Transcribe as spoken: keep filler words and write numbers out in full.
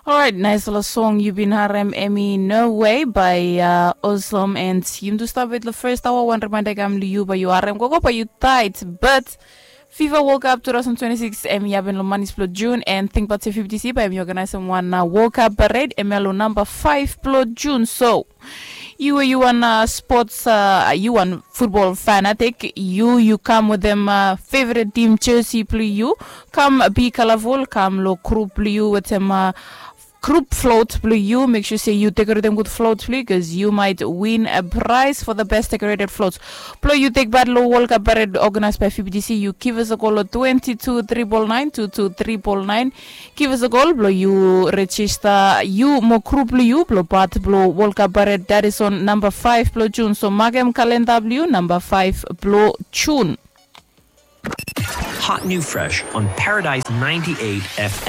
Alright, nice little song. You've been harem Emmy No Way by uh, Awesome and Yum to stop with the first hour. One reminder kam liu by you harem gogo by you tight, but FIFA World Cup two thousand twenty-six em yaben lo manis blo June and think about fifty C by em organize one uh, World Cup parade em lo number five blo June. So you you want uh, sports uh, you want football fanatic you you come with them uh, favorite team jersey blo you come be colorful come lo group blo you with them uh, group float blo you make sure say you decorate them good float blo you because you might win a prize for the best decorated floats blo you take part lo World Cup parade organized by F B T C you give us a call lo twenty two triple nine two two triple nine give us a call blo you register you mo group blo you blo part blo World Cup parade that is on number five blo June so makem calendar blo you number five blo June. Hot new fresh on Paradise ninety-eight F M.